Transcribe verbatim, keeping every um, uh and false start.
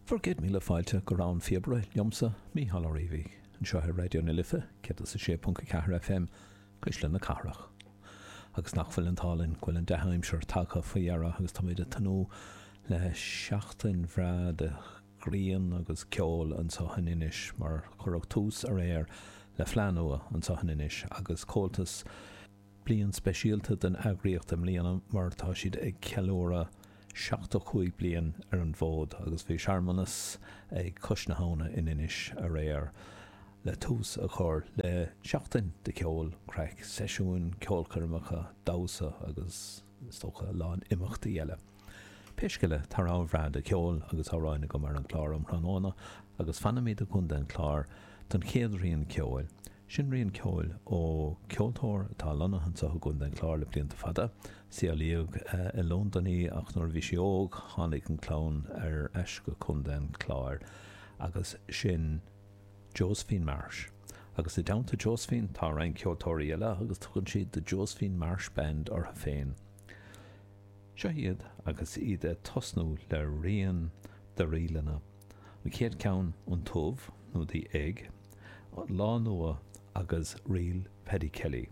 Bhur gcéad míle fáilte go Rann na Píobaire liomsa, Mícheál Ó Riabhaigh, anseo ar Raidió na Life, céad is a sé ponc a ceathair F M, Cuisle na Cathrach. Agus nach bhfuil an t-ádh linn go bhfuil an dea-aimsir tagtha faoi dheireadh agus táimid ag tnúth le seachtain bhreá de ghrian agus ceol anseo in Inis, mar cuireadh tús aréir le Fleadh Nua anseo in Inis agus Comhaltas. Bliain speisialta don eagraíocht i mbliana mar tá siad ag ceiliúradh seachtó cúig bliain ar an bhfód agus bhí searmanas ag Cois na hAbhna in Inis aréir le tús a chur le seachtain de cheol, craic, seisiúin, ceolchoirmeacha, damhsa agus is dócha a lán imeachtaí eile. Pé scéal é, tá rogha bhreá de cheol agus amhráin agam ar an gclár um thráthnóna agus fanfaimid i gContae an Chláir don chéad rian ceoil. Sin rian ceoil ó cheoltóir atá lonnaithe anseo i gContae an Chláir le blianta fada. Saolaíodh i Londain í ach nuair a bhí sí óg tháinig an clann ar ais go Contae an Chláir agus sin Josephine Marsh. Agus i dteannta Josephine tá roinnt ceoltóirí eile agus tugann siad The Josephine Marsh Band orthu féin. Seo iad agus iad ag tosnú le rian de ríleanna. An chéad ceann, An tUbh nó The Egg, Lá Nua agus Ríl Paddy Kelly.